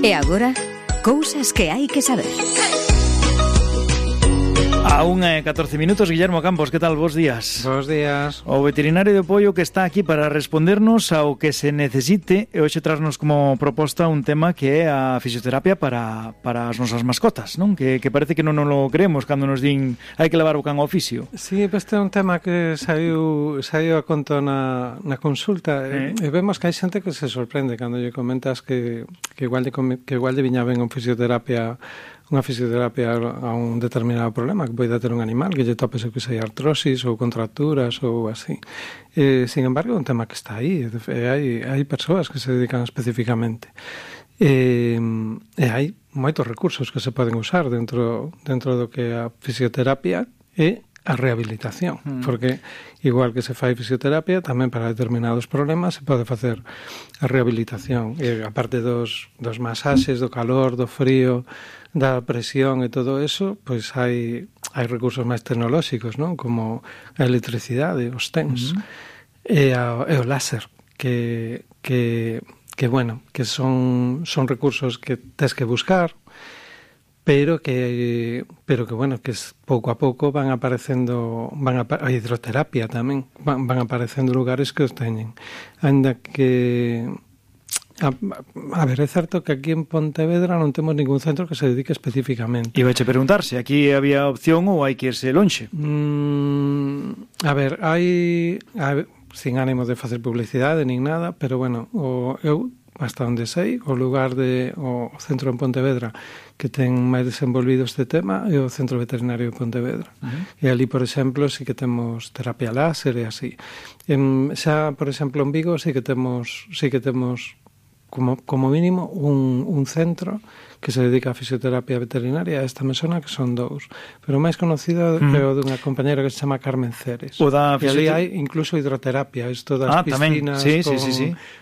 E agora, cousas que hai que saber. A 1:14 minutos, Guillermo Campos, que tal? Bos días. Bos días. O veterinario de Poio que está aquí para respondernos ao que se necesite e hoxe trasnos como proposta un tema que é a fisioterapia para as nosas mascotas, non? Que parece que non nos lo creemos cando nos din hai que levar o can ao fisio. Sí, este é un tema que saiu a conto na consulta e vemos que hai xente que se sorprende cando lle comentas que igual lle viña ben unha fisioterapia a un determinado problema que poida ter un animal, que lle tope se que sei artrosis ou contracturas ou así. Sin embargo, é un tema que está aí, hai persoas que se dedican especificamente. E hai moitos recursos que se poden usar dentro do que é a fisioterapia e a rehabilitación, porque igual que se fai fisioterapia, tamén para determinados problemas se pode facer a rehabilitación, e aparte dos masaxes, do calor, do frío, da presión e todo eso, pois hai recursos máis tecnolóxicos, non? Como a electricidade, os TENS, e o láser, que son recursos que tes que buscar, pero que pouco a pouco van aparecendo, a hidroterapia tamén, van aparecendo lugares que os teñen. Ainda que a ver, é certo que aquí en Pontevedra non temos ningún centro que se dedique especificamente. Iba a preguntar se aquí había opción ou hai que irse lonxe. A ver, hai sin ánimo de facer publicidade nin nada, pero bueno, eu hasta onde sei, o centro en Pontevedra que ten máis desenvolvido este tema é o Centro Veterinario de Pontevedra. E ali, por exemplo, sí que temos terapia láser e así. Xa, por exemplo, en Vigo sí que temos como mínimo un centro que se dedica a fisioterapia veterinaria. Esta me sona que son dous, pero o máis conocido é o dunha compañera que se chama Carmen Ceres. E ali hai incluso hidroterapia, isto das piscinas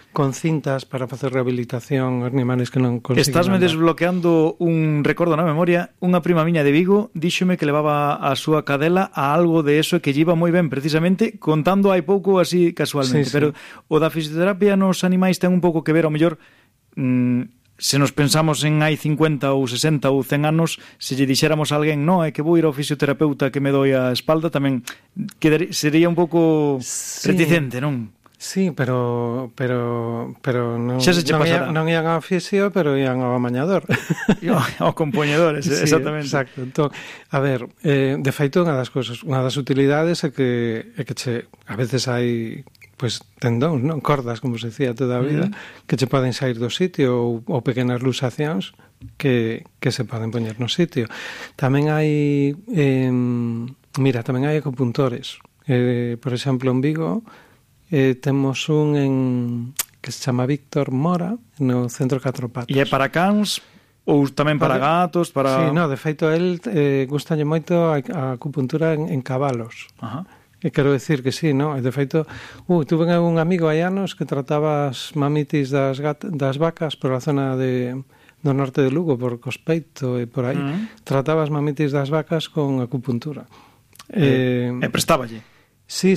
con cintas para facer rehabilitación aos animales que non consiguen. Estásme desbloqueando un recordo na memoria. Unha prima miña de Vigo díxome que levaba a súa cadela a algo de eso que lle iba moi ben, precisamente contando hai pouco así casualmente. Pero o da fisioterapia nos animais ten un pouco que ver, ao mellor, se nos pensamos en hai 50 ou 60 ou 100 anos, se lle dixéramos a alguén, no, é que vou ir ao fisioterapeuta que me doi a espalda, tamén sería un pouco reticente, non? Sí, pero non ian ao fisio, pero ian ao amañador. Ao compoñedor, exactamente. Exacto. Entón, a ver, de feito, unha das utilidades é que a veces hai tendóns, non? Cordas, como se decía toda a vida, que che poden sair do sitio ou pequenas luxacións que se poden poñer no sitio. Tamén hai tamén hai acupuntores. Por exemplo, en Vigo temos un que se chama Víctor Mora no Centro Catro Patas. E é para cans ou tamén para gatos? Sí, de feito, el gustalle moito a acupuntura en cabalos. E quero decir que sí, non? De feito, tuve un amigo hai anos que trataba as mamitis das vacas por a zona do norte de Lugo, por Cospeito e por aí. Trataba as mamitis das vacas con acupuntura. E prestáballe? Sí,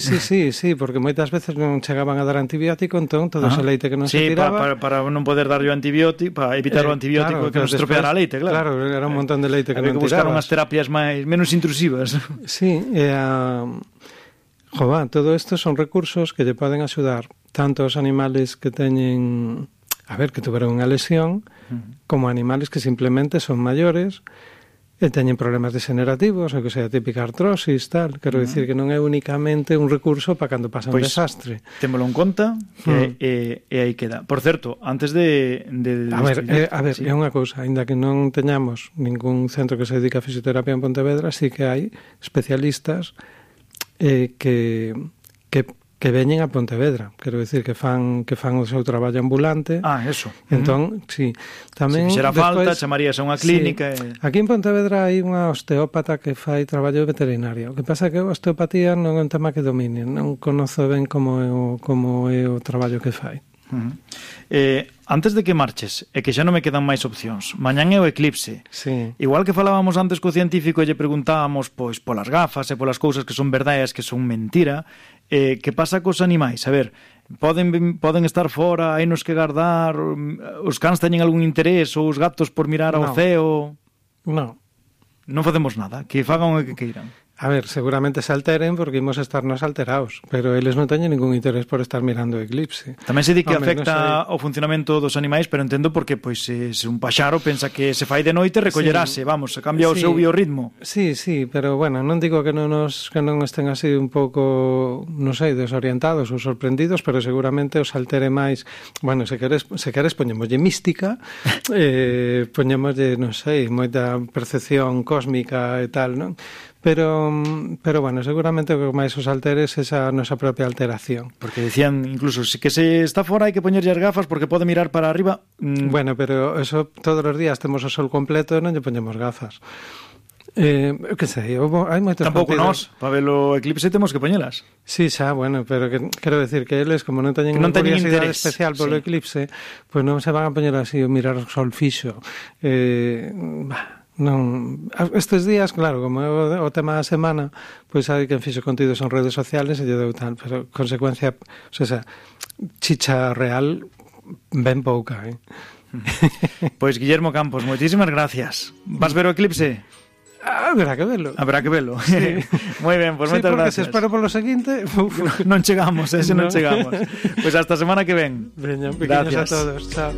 porque moitas veces non chegaban a dar antibiótico, entón todo ese leite que non se tiraba... para non poder darlle o antibiótico, para evitar o antibiótico que nos estropeara a leite, claro. Claro, era un montón de leite que non tirabas. Había que buscar unhas terapias menos intrusivas. Sí, todo isto son recursos que lle poden axudar tanto aos animales que teñen, que tuveron unha lesión, como animales que simplemente son maiores e teñen problemas degenerativos, ou que sea típica artrosis, tal. Quero dicir que non é únicamente un recurso para cando pasa un desastre. Témolo en conta e aí queda. Por certo, antes de A ver, é unha cousa, aínda que non teñamos ningún centro que se dedica a fisioterapia en Pontevedra, sí que hai especialistas que veñen a Pontevedra, quero dicir que fan o seu traballo ambulante. Eso. Entón, sí, tamén se fixera falta, chamarías a unha clínica. Aquí en Pontevedra hai unha osteópata que fai traballo veterinario. O que pasa é que a osteopatía non é un tema que domine, non conozo ben como é o traballo que fai. Antes de que marches, e que xa non me quedan máis opcións, mañán é o eclipse. Sí. Igual que falábamos antes co científico e lle preguntábamos polas gafas e polas cousas que son verdades, que son mentira, que pasa cos animais? A ver, Poden estar fora, hai nos que guardar, os cans teñen algún interés, ou os gatos por mirar ao ceo. Non facemos nada, que fagan o que queiran. A ver, seguramente se alteren porque imos estarnos alterados, pero eles non teñen ningún interés por estar mirando o eclipse. Tamén se di que afecta o funcionamento dos animais, pero entendo porque pois se un paxaro pensa que se fai de noite recollerase, vamos, cambia o seu biorritmo. Sí, pero bueno, non digo que non estén así un pouco, non sei, desorientados ou sorprendidos, pero seguramente os altere máis. Bueno, se queres poñémoslle mística, poñémoslle, non sei, moita percepción cósmica e tal, non? Pero bueno, seguramente o que máis os alteres é esa nosa propia alteración. Porque decían, incluso, que se está fora hai que poñerlle as gafas porque pode mirar para arriba. Bueno, pero eso todos os días temos o sol completo e non lle poñemos gafas. Que sei, hai moitos tampouco nós, para ver o eclipse temos que poñelas. Sí, xa, bueno, pero quero decir que eles, como non teñen unha curiosidade especial polo eclipse, pois non se van a poñer así a mirar o sol fixo. Non, estes días, claro, como é o tema da semana, pois hai quen fixo contidos en redes sociales e lle deu tal, pero consecuencia, o sea, chicha real ben pouca, Pois Guillermo Campos, moitísimas gracias. Vas ver o eclipse? Habrá que velo. Sí. Moi ben, pois moitas gracias. Se espero polo seguinte, non chegamos, non chegamos. Pois hasta a semana que ven. Veña, pequeños a todos. Chao.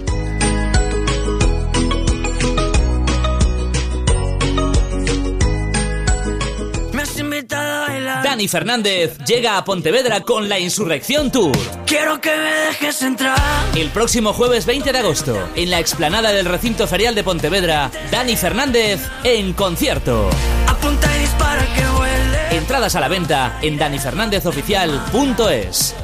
Dani Fernández llega a Pontevedra con la Insurrección Tour. Quiero que me dejes entrar. El próximo jueves 20 de agosto, en la explanada del recinto ferial de Pontevedra, Dani Fernández en concierto. Apunta y dispara que huele. Entradas a la venta en danifernández.oficial.es.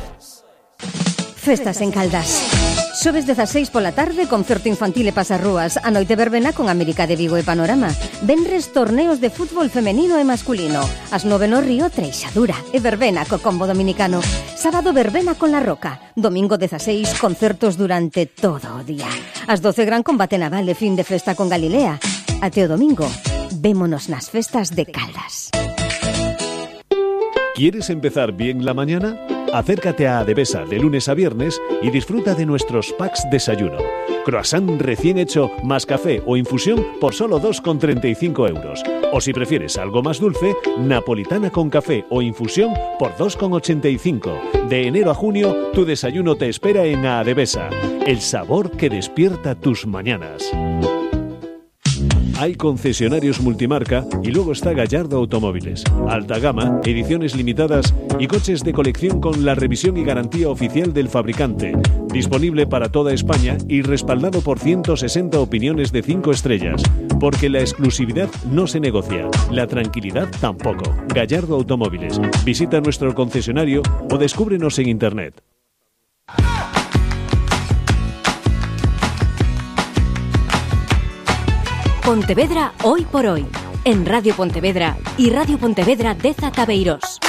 Festas en Caldas. Xoves 16 pola tarde, concerto infantil e pasarrúas. A noite verbena con América de Vigo e Panorama. Venres torneos de fútbol femenino e masculino. As 9 no Río, Treixadura e verbena co combo dominicano. Sábado verbena con La Roca. Domingo 16, concertos durante todo o día. As 12 gran combate naval e fin de festa con Galilea. Até o domingo, vémonos nas festas de Caldas. ¿Quieres empezar bien la mañana? Acércate a Adevesa de lunes a viernes y disfruta de nuestros packs desayuno. Croissant recién hecho más café o infusión por solo 2,35 euros. O si prefieres algo más dulce, napolitana con café o infusión por 2,85. De enero a junio, tu desayuno te espera en Adevesa. El sabor que despierta tus mañanas. Hay concesionarios multimarca y luego está Gallardo Automóviles. Alta gama, ediciones limitadas y coches de colección con la revisión y garantía oficial del fabricante. Disponible para toda España y respaldado por 160 opiniones de 5 estrellas. Porque la exclusividad no se negocia, la tranquilidad tampoco. Gallardo Automóviles. Visita nuestro concesionario o descúbrenos en internet. Pontevedra hoy por hoy, en Radio Pontevedra y Radio Pontevedra de Zabeiros.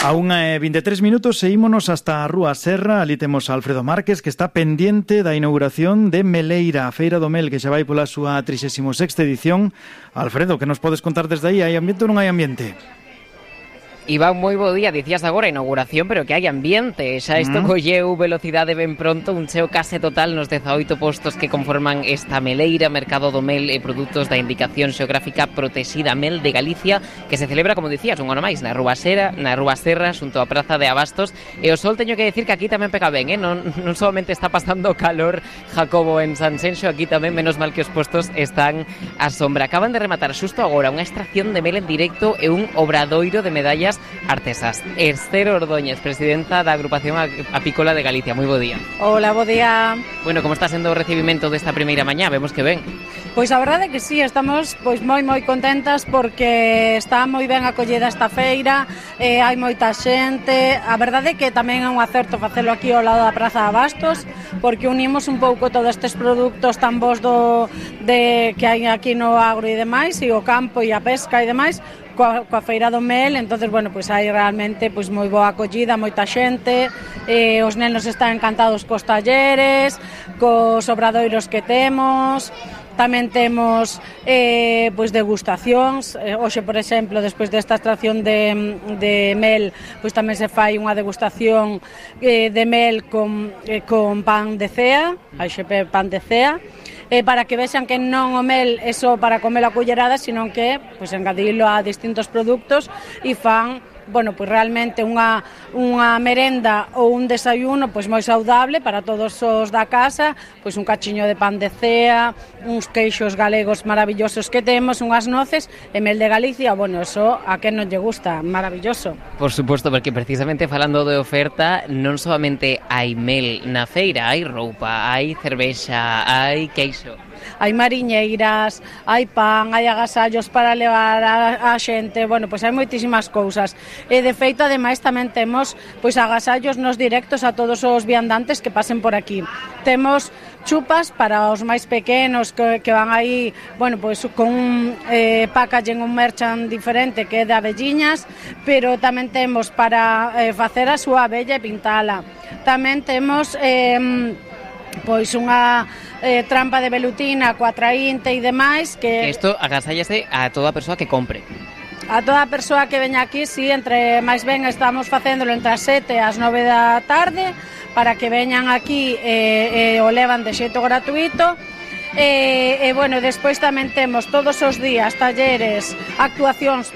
A 1:23 minutos seguímonos hasta a Rúa Serra. Ali temos a Alfredo Márquez, que está pendiente da inauguración de Meleira, a Feira do Mel, que xa vai pola súa 36ª edición. Alfredo, que nos podes contar desde aí? Hai ambiente ou non hai ambiente? Iván, moi bo día, dicías agora inauguración, pero que hai ambiente. Xa isto colleu velocidade ben pronto, un cheo case total nos 18 postos que conforman esta meleira, Mercado do Mel e produtos da indicación xeográfica protexida Mel de Galicia, que se celebra, como dicías, un ano máis, na Rúa Serra, xunto á Praza de Abastos. E o sol teño que decir que aquí tamén pega ben, non solamente está pasando calor Jacobo en Sanxenxo, aquí tamén, menos mal que os postos están á sombra. Acaban de rematar xusto agora unha extracción de mel en directo e un obradoiro de medallas artesas. Esther Ordóñez, presidenta da Agrupación Apícola de Galicia. Moi bo día. Hola, bo día. Bueno, como está sendo o recibimento desta primeira mañá? Vemos que ben. Pois a verdade é que sí, estamos moi contentas porque está moi ben acollida esta feira, hai moita xente. A verdade é que tamén é un acerto facelo aquí ao lado da Praza de Abastos, porque unimos un pouco todos estes produtos tan bons que hai aquí no agro e demais, e o campo e a pesca e demais, coa Feira do Mel. Entonces, bueno, pois hai realmente pois moi boa acollida, moita xente, os nenos están encantados cos talleres, cos obradoiros que temos. Tamén temos pois degustacións. Hoxe, por exemplo, despois desta extracción de mel, pois tamén se fai unha degustación de mel con pan de cea, AXP pan de cea, para que vexan que non o mel é só para comelo a cullerada, sino que pois engadilo a distintos produtos e fan pois realmente unha merenda ou un desayuno pois moi saudable para todos os da casa, pois un cachiño de pan de cea, uns queixos galegos maravillosos que temos, unhas noces e mel de Galicia, eso a quen non lle gusta, maravilloso. Por suposto, porque precisamente falando de oferta, non solamente hai mel na feira, hai roupa, hai cervexa, hai queixo. Hai mariñeiras, hai pan, hai agasallos para levar a xente, pois hai moitísimas cousas. E de feito, ademais, tamén temos pois agasallos nos directos a todos os viandantes que pasen por aquí. Temos chupas para os máis pequenos que van aí, pois con un packaging, un merchan diferente que é de abelliñas, pero tamén temos para facer a súa abella e pintala. Tamén temos pois unha trampa de velutina coa traínte e demais que... Isto agasállase a toda a persoa que compre. A toda a persoa que veña aquí, si, entre máis ben estamos facéndolo entre as 7 e as 9 da tarde para que veñan aquí e o levan de xeito gratuito. Despois tamén temos todos os días actuacións,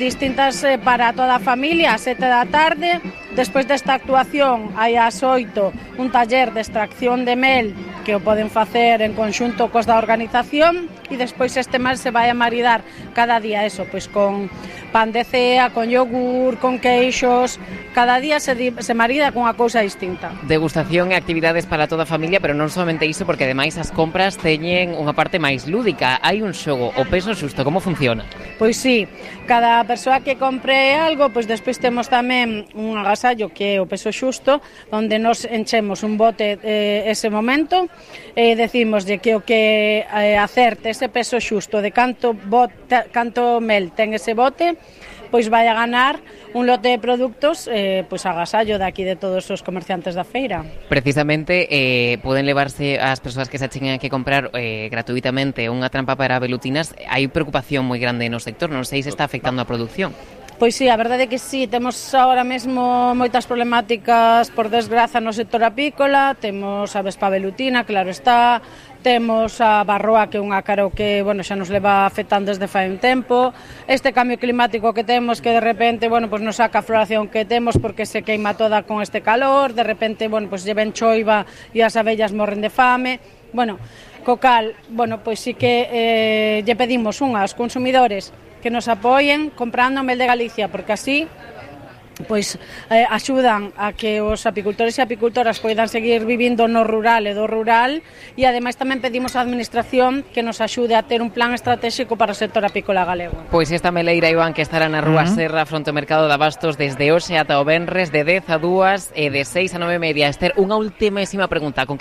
distintas para toda a familia, ás 7 da tarde. Despois desta actuación hai ás 8 un taller de extracción de mel que o poden facer en conxunto cos da organización e despois este mel se vai a maridar cada día pois con pan de cea, con yogur, con queixos, cada día se marida con unha cousa distinta. Degustación e actividades para toda a familia, pero non somente iso, porque ademais as compras teñen unha parte máis lúdica. Hai un xogo, o peso xusto, como funciona? Pois sí, cada persoa que compre algo, pois despois temos tamén un agasallo que é o peso xusto, onde nos enchemos un bote ese momento, decimoslle que o que acerte ese peso xusto de canto mel ten ese bote, pois vai a ganar un lote de produtos pois agasallo daqui de todos os comerciantes da feira. Precisamente poden levarse as persoas que se acheguen a que comprar gratuitamente unha trampa para velutinas. Hai preocupación moi grande no sector, non sei se está afectando a produción. Pois sí, a verdade é que sí, temos agora mesmo moitas problemáticas, por desgraza, no sector apícola. Temos a vespa velutina, claro está, temos a barroa, que é unha caro que, xa nos leva afectando desde fai un tempo. Este cambio climático que temos, que de repente, pois nos saca a floración que temos porque se queima toda con este calor, de repente, pois lleven choiva e as abellas morren de fame. Co cal, pois sí que lle pedimos aos consumidores que nos apoien comprando mel de Galicia, porque así pois axudan a que os apicultores e apicultoras poidan seguir vivindo no rural e do rural, e ademais tamén pedimos á administración que nos axude a ter un plan estratégico para o sector apícola galego. Pois esta meleira, Iván, que estará na Rúa Serra fronte ao Mercado de Abastos desde hoxe ata o venres de 10 a 2 e de 6 a 9:30. Esther, unha ultimísima pregunta, con que